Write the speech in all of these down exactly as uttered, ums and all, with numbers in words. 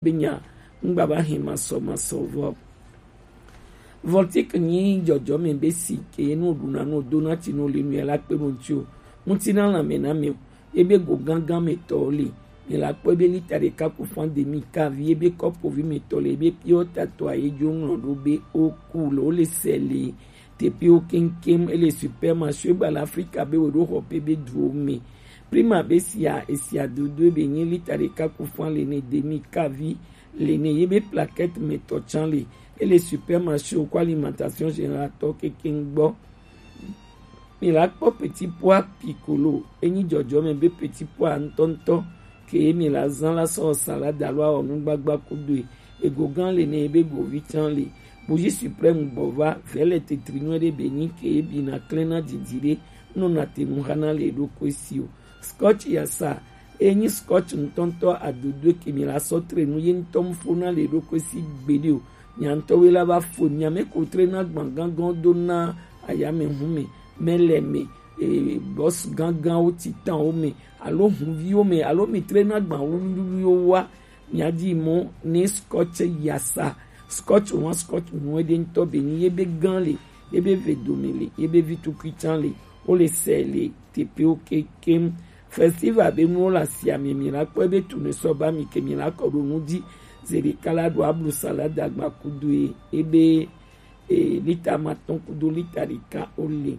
be nya ŋgba va hɛn masɔ masɔ vɔ. Voltic nyi dzɔdzɔme be si ke nu ɖuna nu dona tsi nu le nu yɛ la kpe ɖo ŋtsi o. Ŋuti na lãme na mi o. Ebe go gángan me tɔ le. Mi la kpɔ ebe lita ɖeka ku fan demi kavi ebe kɔpo vi me tɔ le ebe piɔ tatɔ aye dzo ŋlɔ ɖo be o ku le o le sɛ le. Tepiwo keŋkeŋ ele supermarché gba le Afrika be wòɖo xɔ pe be duwo me. Prima be sia esia dodo be nyi lita ɖeka ku fan le ne demi kavi le ne ye be plaquette me tɔ tsan le ele supermarché ko alimentation générale tɔ kekeŋ gbɔ. Mi la kpɔ petit pois piccolo enyi dzɔdzɔme be petit pois ŋutɔŋutɔ ke mi la zã la sɔ salade alo awɔ nugbagba kudoe. Ego gã le ne ebe govi tsan le. Bougie suprême gbɔ va vɛlɛ tetri nyuie ɖe be nyi ke ebi na klẽ na didi ɖe nɔ na te nu xa na le ɖokui si o. Scotch yasa enyi scotch ŋutɔŋutɔ adodoe ke mi la sɔ tre nu ye ŋutɔ ŋfo na le ɖokui si gbeɖe o. Nya ŋutɔ we la va fo nya me ko tre na gbã gãgãwo do na ayame hu me mele me e, bɔs gãgãwo titanwo me alo huviwo me alo mi tre na gbã wuliwuliwo wa. Mia di mɔ ne scotch yasa scotch wan scotch nuwe ɖe ŋutɔ be ni ye be gã le ye be ve dome le ye be vi tukui tsan le wo le sɛ le tepewo kekem. Festival be nuwo le asia me mi la kpɔ ebe tu ne sɔ ba mi ke mi la kɔ ɖo nu di. Zeɖeka la ɖo ablu salada gba kudu ye ebe e, lita matɔn kudo lita ɖeka wo le.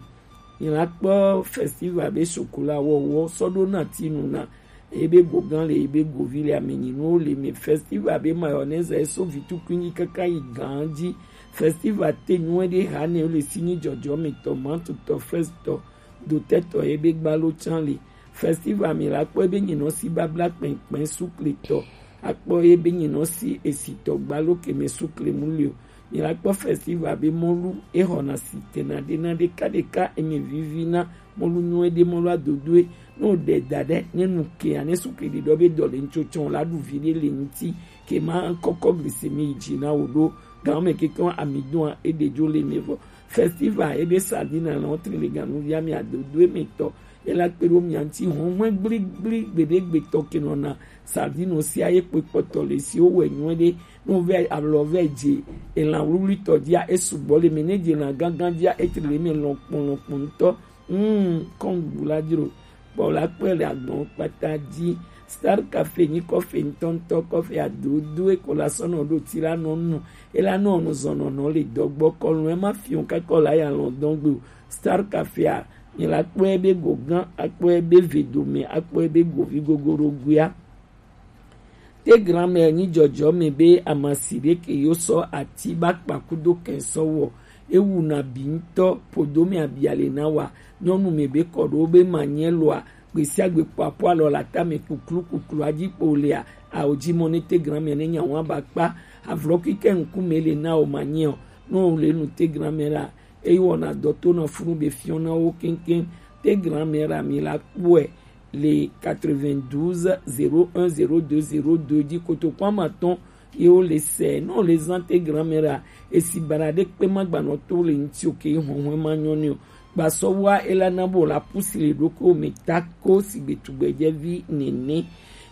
Mi la kpɔ festival be sokola wɔwɔ sɔ ɖo na ti nu na ebe gogã le ebe govi le amenyi nuwo le me. Festival be mayonnaise eso vitukui nyi kaka yi gã dzi. Festival te nuwe ɖe ha ne le si nyi dzɔdzɔ me tɔ mantu tɔ fraise tɔ dotɛ tɔ ebe gbalo tsan le. Festival mi la kpɔ ebe nyinɔ si babla kpɛnkpɛn sukle tɔ akpɔ ebe nyinɔ si esi tɔ gbalo keme sukle mu le o. Mi la kpɔ festival be mɔlu exɔna si tena ɖe na ɖeka ɖeka eme vivi na mɔlu nyuie ɖe mɔlu adodoe. Ne o ɖe da ɖe ne nu kea ne sukle ɖiɖɔ be dɔ le ŋtsotsɔ la ɖu vi ɖe le ŋti ke ma kɔkɔ glisemi yi dzi na wo ɖo gan me keke amidon a eɖe dzo le me vɔ. Festival ebe sardine lɔ tri le ganu via mi adodoe me tɔ ela kpe ɖo mia ŋti hɔn hɔn gbligble gbeɖegbe tɔ ke nɔna sardine sia ye kpe kpɔtɔ le si wo wɛ nyuie ɖe. Ne wovɛ alɔ vɛ dze elan wluwlui tɔ dzia esugbɔ le me ne dze elan gãgã dzia etri le me lɔkpɔn lɔkpɔn ŋutɔ. Mm, kɔn gbula dzro kpɔ la kpɔe le agbɔn kpata dzi. Star Cafe nyi kɔfe ŋutɔŋutɔ kɔfe adodo eko la sɔnɔ ɖo ti la nɔ nu ela nɔ nu zɔnɔnɔ le dɔgbɔ kɔlu ema fiɔ kakɔ la ya lɔ dɔn gbe o. Star Cafe a mi la kpɔe be go gã akpɔe be ve dome akpɔe be govi gogoro guia. Te grand-mère nyi dzɔdzɔ me be amasi ɖe ke yo sɔ ati ba kpa kudo kɛn sɔ wɔ ewu na bi ŋutɔ podo me abia le na wa nyɔnu me be kɔ ɖo be ma nyɛ lɔa gbesiagbe kpɔ apo alɔ la ta me kuklu kuklu adzi kpo lea awo dzi mɔ ne te grand-mère ne nya wa ba kpa avlɔ kike ŋkume le na o ma nyɛ o. Ne o le nu te grand-mère la eye wɔna dɔ to na funu be fiɔ na wo keŋkeŋ. Te grand-mère la mi la kpɔe le quatre-vingt-douze zéro un zéro deux zéro deux dzi kotokua ma tɔn ye wo le sɛ ne o le zã te grand-mère la esi bana ɖe kpe ma gbanɔ to le ŋti o ke hɔnhɔn ma nyɔ ne o. Gbasɔ wa ela na bo la pusi le ɖo ko me ta ko si gbe tugbedze vi nene.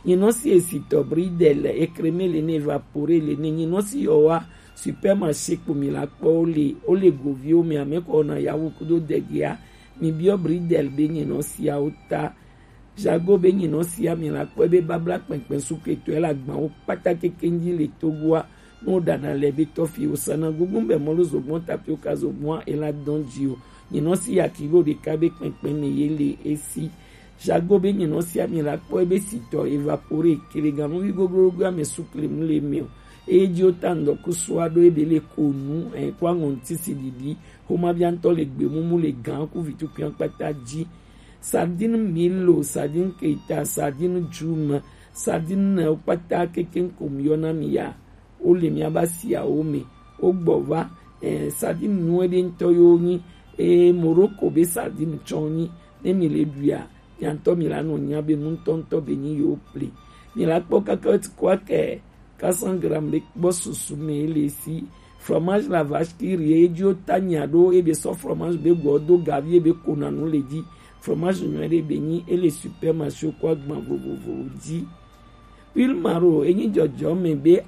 Nyinɔ si esi tɔ bridel ekreme le ne evapore le ne nyinɔ si yɔ wa supermarché kpo mi la kpɔ wo le wo le goviwo me ame kɔ na yawu kudo degia. Mi biɔ bridel be nyinɔ siawo ta. Jago be nyinɔ sia mi la kpɔ be babla kpɛnkpɛn suketɔ ela gbawo kpata kekeŋ dzi le Togoa. Ne woɖana le be tɔfi wosana gugun be mɔlu zogbɔn tapioka zogbɔn ela dɔn dzi o. Nyinɔ si ya kilo ɖeka be kpɛnkpɛn me ye le esi. Jago be nyinɔ sia mi la kpɔ ebe sitɔ evapore keleganuvi goglogo ame sukle mu le me o. Eye dzi wota ŋdɔ ku sua ɖo ebe le konu ɛ kó aŋɔ ŋti si ɖiɖi. Xomavia ŋutɔ le gbe mumu le gã ku vitukui kpata dzi. Sardine milo, sardine keita, sardine djum, sardine kpata kekeŋ ko mi yɔna mi ya. Wo le miaba siawo me. Wo gbɔ va eh, sardine nuwe ɖe ŋutɔ yo nyi. Eh, Morocco be sardine tsɔ nyi. Ne mi le ɖuia mia ŋutɔ mi la nɔ nya be nu ŋutɔ ŋutɔ be nyi yo ple. Mi la kpɔ kaka ti kɔ akɛ quatre cents grammes ɖe kpɔ susu me le si. Fromage la vache qui rit ye dzi wo ta nya ɖo ebe sɔ fromage be gbɔ do gavi ebe kona nu le dzi. Fromage nyɔ ɖe be nyi ele supermarché ko agban vovovowo dzi. Pilmaro enyi jɔjɔme be